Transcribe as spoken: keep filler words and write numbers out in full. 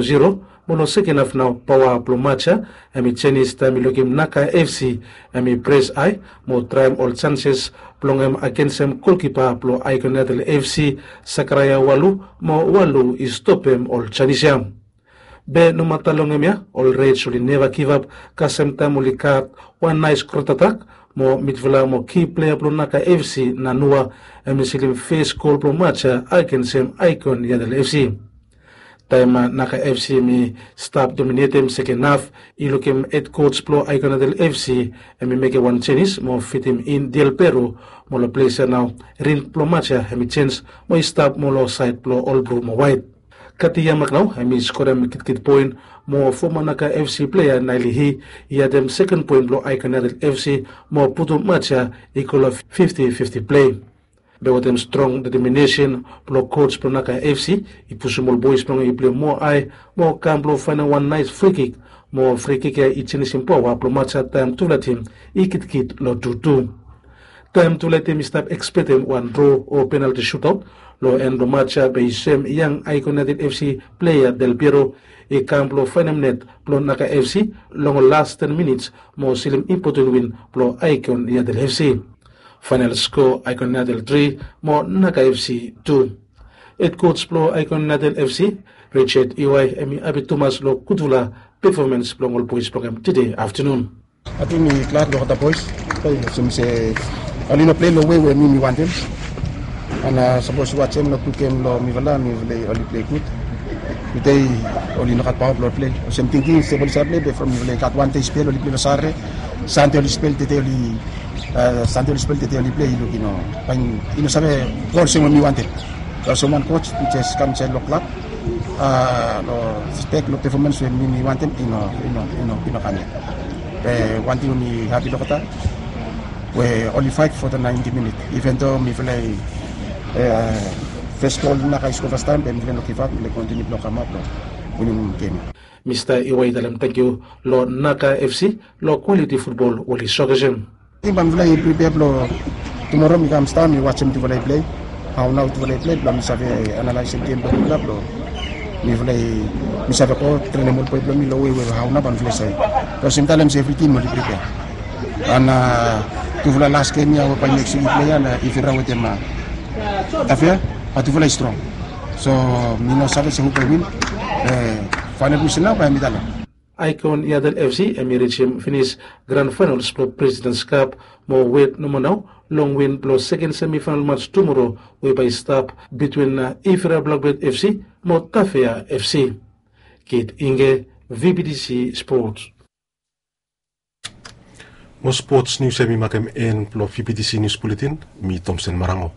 zero. Mo long seken haf nao paoa blong Macha hemi jenis taem i lukim Naka FC hemi pres hae mo traem ol janses blong hem agensem golkipa blong Aikoniadel FC, Sakaraia Walu, mo Walu i stopem ol janis ya. Be nomata long hemia ol Reds oli neva givap kasem taem oli gat wan naes kontratak mo midfila mo ki plea blong Naka FC, Nanua, hemi silim fes gol blong Macha agensem Aikoniadel FC. Taem Naka FC hemi stap dominetem seken haf, i lukim hed koj blong Aikoniadel FC hemi mekem wan jenis mo fitim in Diel Pero, mo long ples ya nao rin blong Macha hemi jenj mo i stap mo long saed blong ol blu mo waet. Kati Yamak nao hemi skorem kitkit poen mo foma Naka FC plea Naeli Hi i adem seken poen blong Aikoniadel FC mo putum Macha i go long fifti fifti plei. Be wetem strong deteminesen blong koj blong Naka FC i pusum ol boes blong hem i plei moa hae mo kam blong faenem wan naes frikik, mo frikik ya i jenisim paoa blong Macha taem tufala tim i kitkit long tutu. Taem tufala tim i stap ekspektem wan dro o penalti sutaot, long en blong Macha be i soem yang Aikoniadel FC plea Del Piero i kam blong faenem net blong Naka FC long ol las ten minits mo silim impoten win blong Aikoniadel FC. Faenal skoa, Aikoniadel tri mo Naka FC tu. Hed koj blong Aikoniadel FC, Richard Iwai, hemi hapi tumas long gudfala pefomans blong ol boes blong hem tede aftenun. Ating mi glad long olgeta boes. Olsem se oli no plei long wei we mi mi wantem. An sapos yu wajem long tu gem long mifala, mifala oli plei gud. Tude oli no gat paoa blong ol plei. Olsem tingting se oli save plei be from mifala i gat wan dei spel oli plei long Sare. Sande oli spel, tede oli, Sande oli spel, tede oli plei, i luk i no, i no save go olsem we mi wantem. Olsem wan koj we jes kam insaed long klab long spek long pefomans we mi mi wantem i no, i no, i no kam yet. Be wan ting we mi hapi long olgeta we oli faet fo the naenti minit. Iven do mifala i fes gol Naka i skoa fastaem be mifala i no givap, mifala i kontiniu blong kamap blong winim gem ya. Mista Iwai i talem tangkiu long Naka FC long kwaliti futbol we oli soakesem. Ating bae mifala i pripea blong tumoro mi kam stap mi wajem tufala i plei. Hao nao tufala i plei blong mi save analaesem gem blong mifala blong mifala i, mi save go trenem ol boe blong mi long wei we hao nao bae mifala i save. Olsem talem se evri tim oli pripea. An tufala las gem ya we bae next wik i plei ya na Ivira wetem Tafea, bae tufala i strong. So mi no save se hu bae win. Faenal wisel nao bae mi talem. Aikoniadel FC hemi rijem finis gran faenals blong Presidents Cup mo wet nomo nao long win blong seken semifaenal mats tumoro we bae i stap bitwin Ivira Blakblet FC mo Tafea FC. Kit Inge, VBTC Sports. Mo spots nius ya mi makem en blong VBTC Nius Buletin. Mi Tomsen Marango.